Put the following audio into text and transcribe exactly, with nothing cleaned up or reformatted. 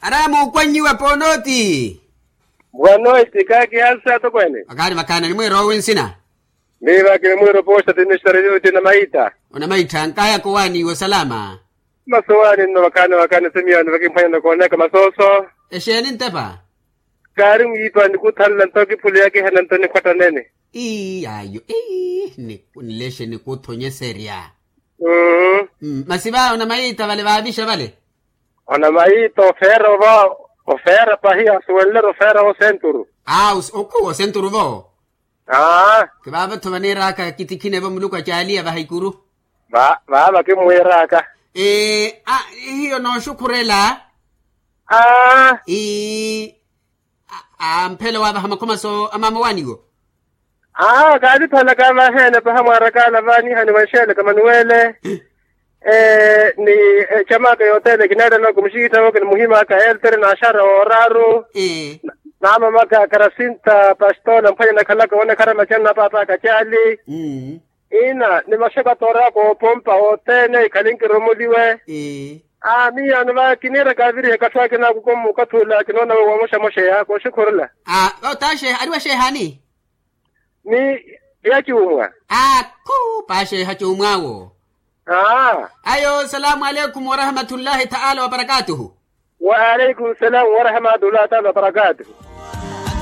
Araya muukwannyiwa ponooti. Bwanoiti kakihansa atokweene. Vakaari vakhaana nimwiira owi nsina? Miiva kimimwiira opoosta tinixtareliwe ti namayita. Onamayitha nkayaka owaaniwa osalama. Masu owaani nno vakhaana vakhaana simiyoni vakimphwanyana koonaka masooso. Exeeni ntepa? Kaari mwiipa nikuthanla nto kiphule yakihana nto nikhwatta nene. Ii ayo ii. Nlexe nikuthonyeserya. Mmm. Masi va onamayiita vale vaavixa vale? Onamayiita ofeera ova. Ofeera pahi asuwenlera ofeera wosenturu. Aa okhuwa osenturu vo. Aa. Kivaava-tho vaniiraka kitikhinevo muluku acaaliya vahikuru. Vaava kimwiiraka. Hiyo nooxukhurela. Aa. Ii. Amphela waavaha makhomaso amaama owaaniwo. Aa kaatiphalaka vaheene paha mwaarakaala vaanihani vanxeelaka manuwele. Ni ecamaka yothene kineerelaka omuxikittha-wo kinimuhimaka eltere n'axara wooraaru. Naamamaka karasinta pastola mphwanya nakhalaka woonekharya macana na paapaka caali. Ina ni maxakatooraka oopompa othene ikhale nkiromoliwe. Aa miyaano va kiniiraka avirihe katthu akina akukomu okathi ula kinoona we woomoxamoxeya kooxukhurela. Aa otaxeha ari waxeehani? Ni ya cuumwa. Akhu paaxeeha cuumw'awo. Aa. Ayo salaamu aleikum warahmatullahi taala wabarakatuhu. Waaleikum salaamu warahmatullahi taala wabarakatuhu.